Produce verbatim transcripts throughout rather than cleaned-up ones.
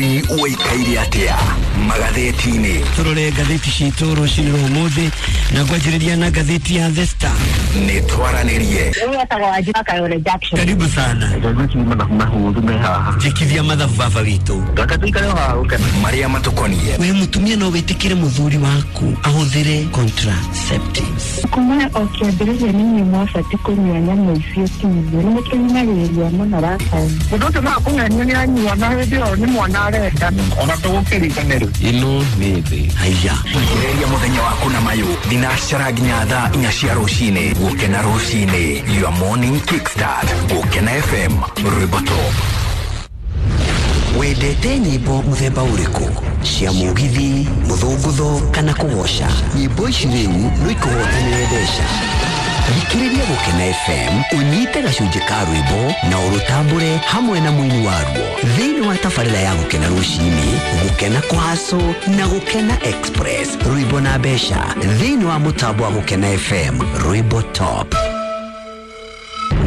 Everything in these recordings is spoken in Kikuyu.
Bũrũri ũikaire atĩa magathĩti-inĩ? Tũrore ngathĩti citũ rũcinĩ rwa ũmũthĩ na ngwanjĩrĩria na ngathĩti ya The Star. Nĩ twaranĩrie. Karibu sana. Njĩkithia mathabu baba witũ. Marĩa matũkoniĩ. We mũtumia no wĩtĩkĩre mũthuri waku ahũthĩre contraceptives? Kuma o kĩambĩrĩria nĩ inyuĩ mwabatiĩ kũnyua nyamũ icio ti ithuĩ. Nĩ mũtũhinyagĩrĩria mũno rakaĩ. Mũndũ ũcio no akũng'enia nĩ anyua na hĩndĩ ĩyo nĩ mwana arenda. Ona tũgũkĩriganĩrwo. Ĩno nĩ thĩ. Haiya. Ambĩrĩria mũthenya waku na mayũ thinacara nginya thaa inya cia rũcinĩ. Gũkena rũcinĩ, your morning kickstart. Gũkena F M, rwĩmbo top. Wendete nyĩmbo mũthemba ũrĩkũ? Cia mũgithi, mũthũngũtho kana kũgoca? Nyĩmbo ici rĩu no ikũhotanĩre mbeca. Thikĩrĩria Gũkena F M, ũnyite gacunjĩ ka rwĩmbo na ũrũtambũre hamwe na mũini waruo thĩinĩ wa tabarĩra ya Gũkena rũcinĩ, Gũkena Kwaco na Gũkena Express. Rwĩmbo na mbeca thĩinĩ wa mũtambo wa Gũkena F M, rwĩmbo top.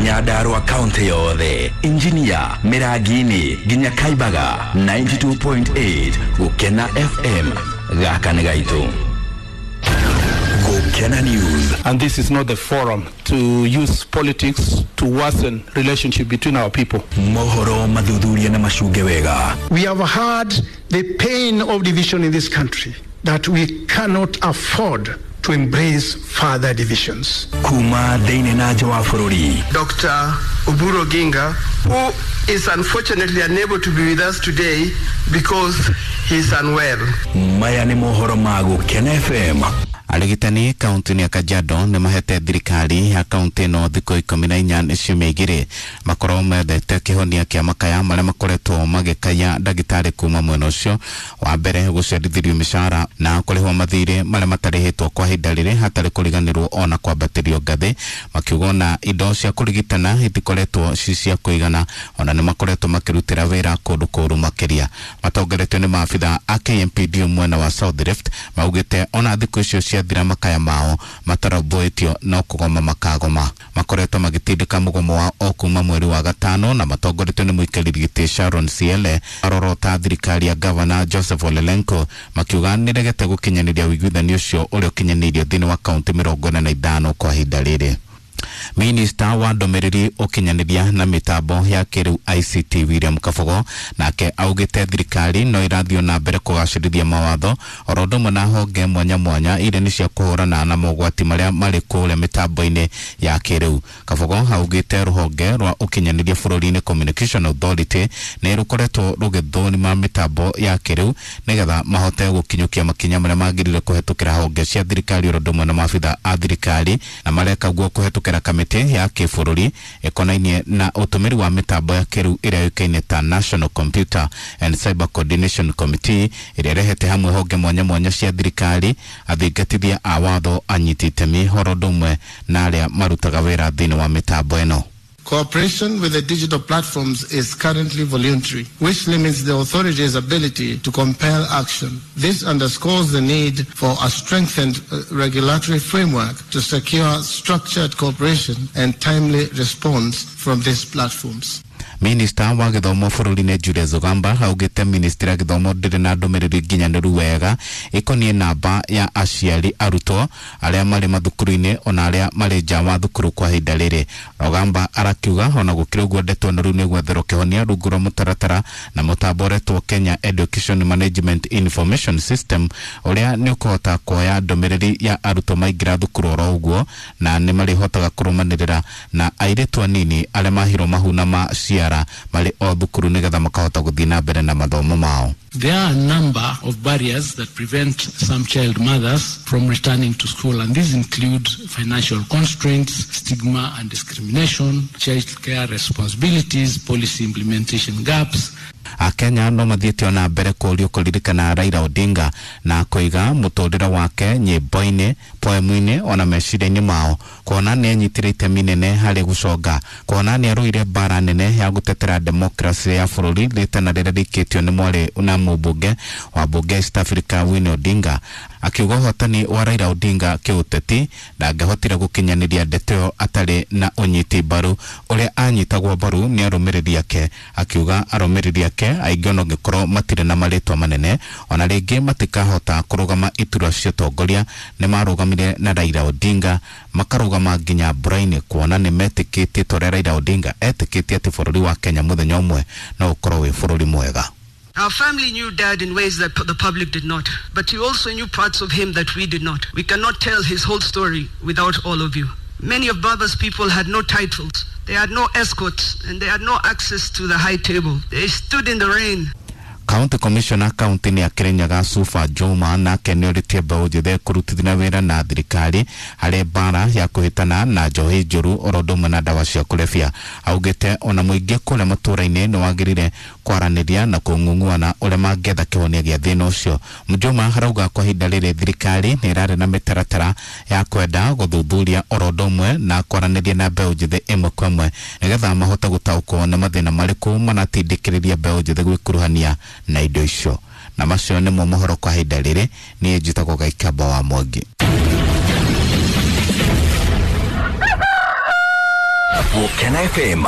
Nyandarua kaunti yothe, Engineer Mirangini nginya Kaibaga ninety-two point eight Gũkena F M, gaka nĩ gaitũ. Gũkena News. And this is not the forum to use politics to worsen relationship between our people. Mohoro mathuthuria na macunge wega. We have had the pain of division in this country that we cannot afford to embrace further divisions. Kuma thĩinĩ na nja wa bũrũri. Doctor Oburu Oginga, who is unfortunately unable to be with us today because he is unwell. Maya nĩ mohoro ma Gũkena F M. Arigitani kaunti-inĩ ya Kajiado nĩ mahete thirikari ya kaunti ĩno thikũ ikũmi na inya ciumia igĩrĩ makorwo methete kĩhonia kĩa makaya marĩa makoretwo magĩkaya ndagĩtarĩ kuma mwena ũcio. Wa mbere gũcerithĩrio mĩcara na kũrĩhwo mathirĩ marĩa matarĩhĩtwo kwa ihinda rĩrĩ hatarĩ kũriganĩrwo ona kwambatĩrio ngathĩ, makiuga ona indo cia kũrigitana itikoretwo ci cia kũigana, ona nĩ makoretwo makĩrutĩra wĩra kũndũ kũũru makĩria. Matongoretio nĩ maabitha a K M P D mwena wa South Rift maugĩte ona thikũ icio cia thira makaya mao mataromboĩtio no kũgoma makagoma. Makoretwo magĩtindĩka mũgomo wao o kuma mweri wa gatano na matongoretio nĩ mũikarĩri gĩtĩ Sharon Siele arorota thirikari ya Governor Joseph Ole Lenku makiuga nĩregete gũkinyanĩria ũiguithanio ũcio ũrĩa ũkinyanĩirio thĩinĩ wa kaunti mĩrongo ĩna na ithano kwa ihinda rĩrĩ. Minista wa ndũmĩrĩri ũkinyanĩria na mĩtambo ya kĩrĩu I C T William Kabogo nake augĩte thirikari no ĩrathiĩ na mbere kũgacĩrithia mawatho oro ũndũ ũmwe na honge mwanya mwanya iria nĩ cia kũhũrana na mogwati marĩa marĩ kũrĩa mĩtambo-inĩ ya kĩrĩu. Kabogo augĩte rũhonge rwa ũkinyanĩria bũrũri-inĩ Communication Authority nĩ rũkoretwo rũgĩthũrima mĩtambo ya kĩrĩu nĩgetha mahote gũkinyũkia makinya marĩa magĩrĩire kũhetũkĩra honge cia thirikari oro ũndũ ũmwe na maabitha a thirikari, na mareka guo kũhetũkĩra kamĩtĩ ya kĩbũrũri ĩkonainie na ũtũmĩri wa mĩtambo ya kĩrĩu ĩrĩa yũĩkaine ta National Computer and Cyber Coordination Committee ĩrĩa ĩrehete hamwe honge mwanya mwanya cia thirikari, athingatithia a watho, anyiti itemi oro ũndũ ũmwe na arĩa marutaga wĩra thĩinĩ wa mĩtambo ĩno. Cooperation with the digital platforms is currently voluntary, which limits the authorities' ability to compel action. This underscores the need for a strengthened regulatory framework to secure structured cooperation and timely response from these platforms. Minista wa gĩthomo bũrũri-inĩ Julius Ogamba augĩte ministry ya gĩthomo ndĩrĩ na ndũmĩrĩri nginyanĩru wega ĩkoniĩ namba ya aciari arutwo arĩa marĩ mathukuru-inĩ ona arĩa marĩ nja wa thukuru kwa ihinda rĩrĩ. Ogamba arakiuga ona gũkĩrĩ ũguo ndeto ĩno rĩu nĩ gwetherwo kĩhonia rungu rwa mũtaratara na mũtambo ũretwo Kenya Education Management Information System ũrĩa nĩ ũkũhota kuoya ndũmĩrĩri ya arutwo maingĩra thukuru oro ũguo na nĩ marĩhotaga kũrũmanĩrĩra na airĩtu anini arĩa mahirwo mahu na maciara marĩ o thukuru nĩgetha makahota gũthiĩ na mbere na mathomo mao. There are a number of barriers that prevent some child mothers from returning to school, and these include financial constraints, stigma and discrimination, childcare responsibilities, policy implementation gaps. Akenya no mathiĩte ona mbere kũũrio kũririkana Raila Odinga na kũiga mũtũrĩre wake nyĩmbo-inĩ, poemu-inĩ ona meciria-inĩ mao, kuona nĩ anyitire itemi nene harĩ gũconga, kuona nĩ arũire mbara nene ya gũtetera demokrasia ya bũrũri rĩtana rĩrĩa rĩikĩtio nĩ mwarĩ na mũmbunge wa mbunge East Africa Winnie Odinga. Akiuga ũhotani wa Raila Odinga kĩũteti ndangĩahotire gũkinyanĩria ndeto ĩyo atarĩ na ũnyiti mbaru ũrĩa anyitagwo mbaru nĩ arũmĩrĩri ake. Akiuga arũmĩrĩri ake ake aingĩ ona ũngĩkorwo matirĩ na marĩtwa manene ona rĩngĩ matikahota kũrũgama iturwa cia ũtongoria nĩ marũgamire na Raila Odinga makarũgama nginya mbura-inĩ kuona nĩ metĩkĩtie ta ũrĩa Raila Odinga etĩkĩtie atĩ bũrũri wa Kenya mũthenya ũmwe no ũkorwo wĩ bũrũri mwega. Our family knew Dad in ways that the public did not, but he also knew parts of him that we did not. We cannot tell his whole story without all of you. Many of Baba's people had no titles, they had no escorts, and they had no access to the high table. They stood in the rain. County Commissioner kaunti-inĩ ya Kirinyaga Sufa Juma nake nĩ orĩtie mbeũ njĩthĩ kũrutithania wĩra na thirikari harĩ mbara ya kũhĩtana na njohi njũru oro ũndũ ũmwe na ndawa cia kũrebia. Augĩte ona mũingĩ kũrĩa matũũra-inĩ nĩ wagĩrĩire kwaranĩria na kũng'ung'uana ũrĩa mangĩetha kĩhonia gĩa thĩna ũcio. Mjuma arauga kwa ihinda rĩrĩ thirikari nĩ ĩrarĩ na mĩtaratara ya kwenda gũthuthuria oro ũndũ ũmwe na kwaranĩria na mbeũ njĩthĩ ĩmwe kwa ĩmwe nĩgetha mahote gũtaũkwo nĩ mathĩna marĩkũ manatindĩkĩrĩria mbeũ njĩthĩ gwĩkuruhania na indo icio. Na macio nĩmo mohoro kwa ihinda rĩrĩ. Niĩ njĩtagwo Gaikamba wa Mwangi. Gũkena F M.